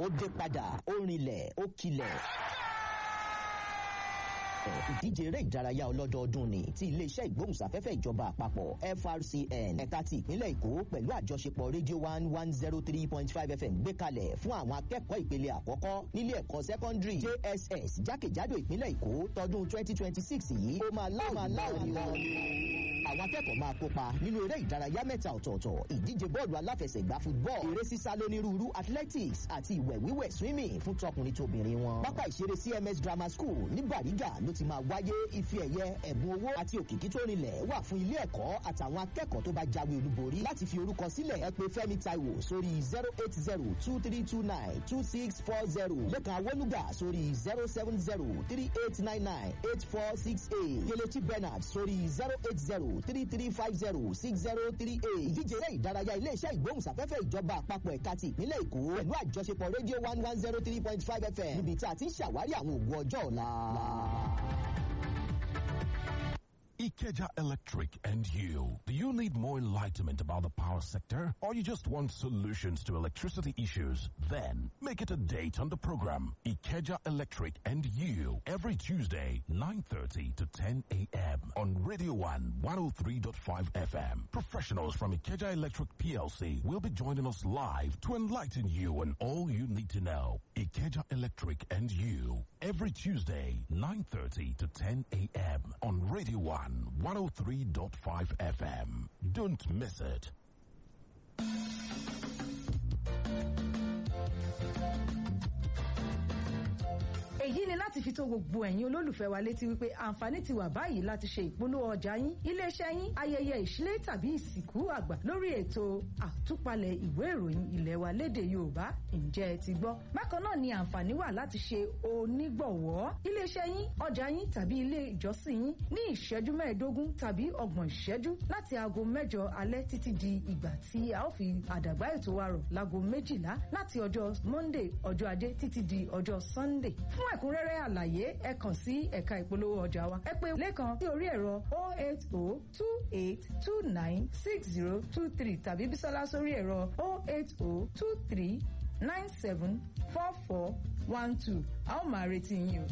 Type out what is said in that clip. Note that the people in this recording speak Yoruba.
Ó dé padà, ó rinlẹ̀, ó kilẹ̀. Ìdíje eré ìdárayá ọlọ́dọọdún ni ti iléeṣẹ́ ìgbóhùnsáfẹ́fẹ́ ìjọba àpapọ̀ FRCN ẹ̀ka ti ìpínlẹ̀ Èkó pẹ̀lú àjọṣepọ̀ Radio 1 103.5 FM gbé kalẹ̀ fún àwọn akẹ́kọ̀ọ́ ìpele àkọ́kọ́ nílé ẹ̀kọ́ sẹ́kọ́ndírì JSS jákèjádò ìpínlẹ̀ Èkó tọdún 2026 yìí. Ó máa láòlì o. Àwọn akẹ́kọ̀ọ́ máa kópa nínú eré ìdárayá mẹ́ta ọ̀tọ̀ọ̀tọ̀: ìdíje bọ́ọ̀lù aláfẹsẹ̀gbá football, eré sísá lónírúurú athletics àti ìwẹ̀ wíwẹ̀ swimming fún tọkùnrin tóbìnrin wọn. Pápá ìṣeré CMS Grammar School ní Bàrígà ló ti máa wáyé. Ife ẹ̀yẹ, ẹ̀bùn owó àti òkìkí tó rinlẹ̀ wà fún ilé ẹ̀kọ́ àtàwọn akẹ́kọ̀ọ́ tó bá jáwé olúborí. Láti fi orúkọ sílẹ̀, ẹ pè Fẹ́mi Táíwò sórí 08023292640, Lékan Awólúgà sórí 07038998468, Kelechi Bernard sórí 08033506038. Ìdíje eré ìdárayá iléeṣẹ́ ìgbóhùnsáfẹ́fẹ́ ìjọba àpapọ̀ ẹ̀ka ti ìpínlẹ̀ Èkó pẹ̀lú àjọṣepọ̀ Radio 1 103.5 FM, níbi tí a ti ń ṣàwárí àwọn ògo ọjọ́ ọ̀la. Ikeja Electric and you. Do you need more enlightenment about the power sector? Or you just want solutions to electricity issues? Then make it a date on the program Ikeja Electric and You every Tuesday, 9:30 to 10 a.m. on Radio 1 103.5 FM. Professionals from Ikeja Electric PLC will be joining us live to enlighten you on all you need to know. Ikeja Electric and You every Tuesday, 9:30 to 10 a.m. on Radio 1 103.5 FM. Don't miss it. Èyí ni láti fi tó gbogbo ẹ̀yin olólùfẹ́ wa létí wípé àǹfààní ti wà báyìí láti ṣe ìpolówó ọjà yín, iléeṣẹ́ yín, ayẹyẹ ìṣílé tàbí ìsìnkú àgbà lórí ètò àtúpalẹ̀ ìwé ìròyìn ilé wa lédè Yorùbá. Ǹjẹ́ ẹ ti gbọ́? Bákan náà ni àǹfààní wà láti ṣe onígbọ̀wọ́ iléeṣẹ́ yín, ọjà yín tàbí ilé ìjọsìn yín ní ìṣẹ́jú 15 tàbí 30 ìṣẹ́jú láti aago 8 alẹ́ títí di ìgbà tí a ó fi àdàgbà ètò wa rọ̀ láago 12 láti ọjọ́ Monday, ọjọ́ Ajé títí di ọjọ́ Sunday. Fún ẹ̀kúnrẹ́rẹ́ àlàyé, ẹ kàn sí ẹ̀ka ìpolówó ọjà wa. Ẹ pè Lẹ́kan sí orí ẹ̀rọ 08028296023 tàbí Bísọ́lá sórí ẹ̀rọ 08023974412. A ó máa retí yín o.